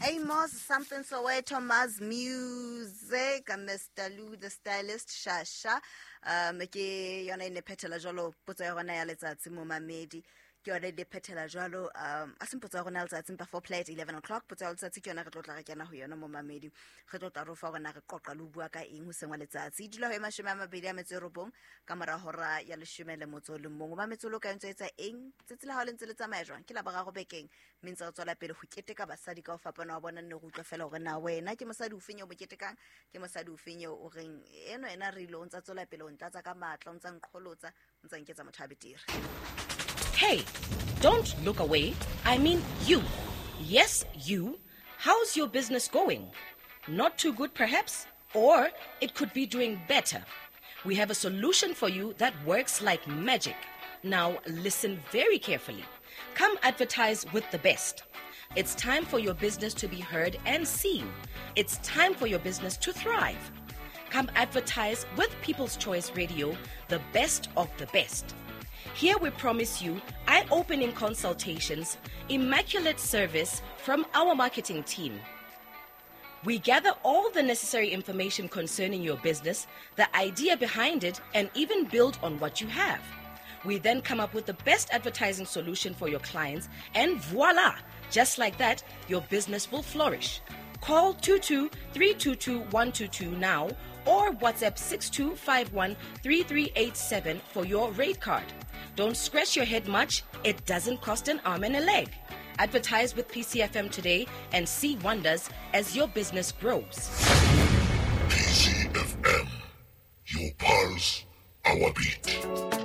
Amos Something Soweto, Maz Music, Mr. Lou the Stylist, Shasha. Ke yona e ne phethela jwalo potso ya rona ya letsatsi momamedi. Ke yona e ne phethela jwalo, a seng potso ya rona ya letsatsi empa for play at 11 o'clock. Potso ya letsatsi ke yona re tlo tla re kena ho yona momamedi. Re tlo tla re o fa hore na re qoqa le ho bua ka eng hoseng wa letsatsi. E dula ho e 29 ka mora hora ya 11. O mametse o le kae, o ntso etsa eng? Tsatsi la hao le ntse le tsamaya jwang? Ke Laboraro bekeng, mme ntse re tswela pele ho keteka basadi ka ho fapana wa bona. Nne re utlwa fela hore na wena ke mosadi ofeng eo mo ketekang, ke mosadi ofeng eo o reng eno ena re ile o ntsa tswela pele o ntlatsa ka matla, o ntsa nqholotsa, o ntsa nketsa motho a betere. Hey, don't look away. I mean you. Yes, you. How's your business going? Not too good, perhaps? Or it could be doing better. We have a solution for you that works like magic. Now, listen very carefully. Come advertise with the best. It's time for your business to be heard and seen. It's time for your business to thrive. Come advertise with People's Choice Radio, the best of the best. Here we promise you eye-opening consultations, immaculate service from our marketing team. We gather all the necessary information concerning your business, the idea behind it, and even build on what you have. We then come up with the best advertising solution for your clients, and voila! Just like that, your business will flourish. Call 22-322-122 now or WhatsApp 6251-3387 for your rate card. Don't scratch your head much. It doesn't cost an arm and a leg. Advertise with PCFM today and see wonders as your business grows. PCFM, your pulse, our beat.